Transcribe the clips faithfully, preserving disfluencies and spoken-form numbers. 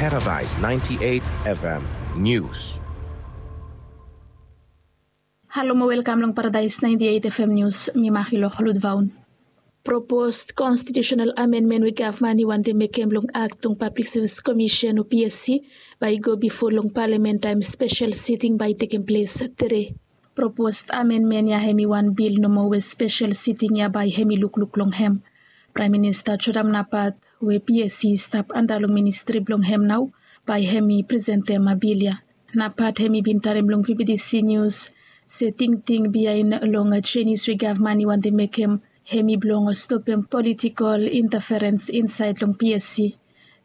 Paradise ninety-eight F M News. Halo mo welkam long Paradise ninety-eight F M News, mi Mahilo Lutvaun. Proposed constitutional amendment we gavman i wantem mekem long Act long Public Service Commission o P S C bae i go bifo long palamen taem spesel siting bae i tekem ples tede. Proposed amendment ya hem i wan bil nomo we spesel siting ya bae hem i lukluk long hem. Praem Minista Jodam Napat we P S C i stap anda long ministri blong hem nao bae hem i presentem bil ya. Napat hem i bin talem long V B T C News se tingting biaen long jenis we gavman i wantem mekem hem i blong stopem politikol intaferens insaed long P S C.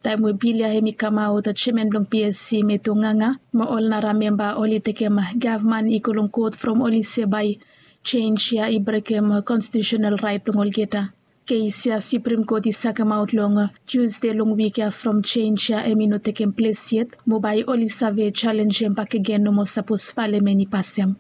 Taem we bil ya hem i kamaot, jeaman blong P S C Meto Nganga mo ol nara memba oli tekem gavman i go long kot from oli se bae jenis ya i brekem konstitiusenal raet blong olgeta. Kes ya Supreme Court i sakemaot long Tusde long wik ya from jenis ya hem i no tekem ples yet mo bae oli save jalenjem bakegen nomo sapos palamen i pasem.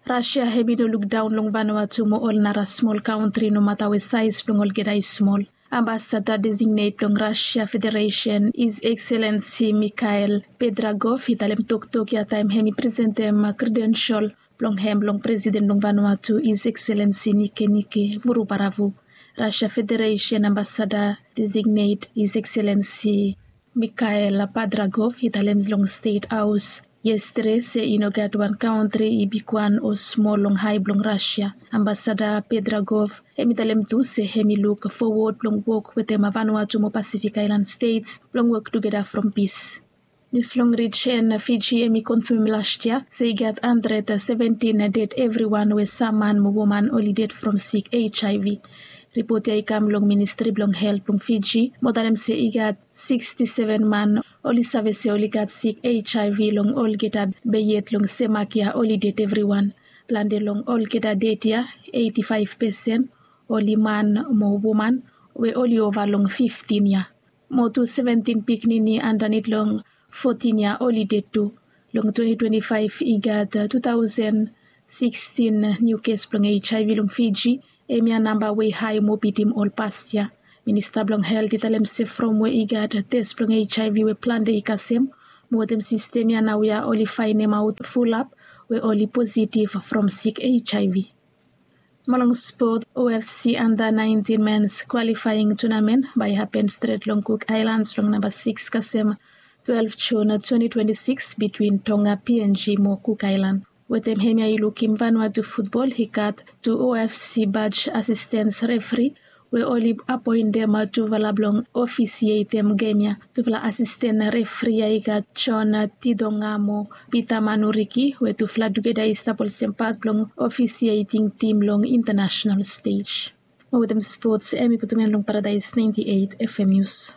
Rasia hem i no lukdaon long Vanuatu mo ol nara smol kaontri nomata we saes blong olgeta i smol. Ambasada designet blong Rasia Federesen, His Excellency Mikhail Pedragov, i talem toktok ya taem hem i presentem kredensel blong hem long Presiden blong Vanuatu, His Excellency Nikenike Vurubaravu. Rasia Federesen Ambasada designet, His Excellency Mikhail Pedragov, i talem long Stet Haos yestede se i no gat wan kaontri i bigwan o smol long hae blong Rasia. Ambasada Pedragov hem i talem tu se hem i luk fowod blong wok wetem Vanuatu mo Pasifik Aelan Stets blong wok tugeta from pis. Nius long rijen, Fiji hem i konfam lastia se i gat handred seventin ded evriwan we sam man mo woman oli ded from sik HIV. Ripot ya i kam long Ministri blong Helt blong Fiji mo talem se i gat siksti seven man oli save se oli gat sik HIV long olgeta, be yet long sem mak ya oli ded evriwan. Plante long olgeta ded ya, eiti faef pesen, oli man mo woman we oli ova long fiftin yia. Mo tu seventin pikinini andanit long fotin yia oli ded tu. Long twenti twenti faef i gat tu taosen sikstin niu kes blong HIV long Fiji. Hemia namba we i hae mo bitim ol past yia. Minista blong Helt i talem se from we i gat tes blong HIV we plante i kasem, mo wetem sistem ya naoia oli faenemaot fulap we oli positiv from sik HIV. Mo long spot, OFC anda naentin mens kwalifaeng tunamen bae i hapen stret long Cook Islands long namba sikis kasem twelef Jun twenti twenti sikis bitwin Tonga, PNG mo Cook Island. Wetem hemia i lukim Vanuatu futbol i gat tu OFC baj asistens refri we oli apoentem tufala blong ofisietem gem ya. Tufala asisten refri ya i gat Jon Tidonga mo Pita Manuriki we tufala tugeta i stap olsem pat blong ofisieting tim long intanasenal stej. Mo wetem spots, hemi putum en long Paradaes naenti eit FM Nius.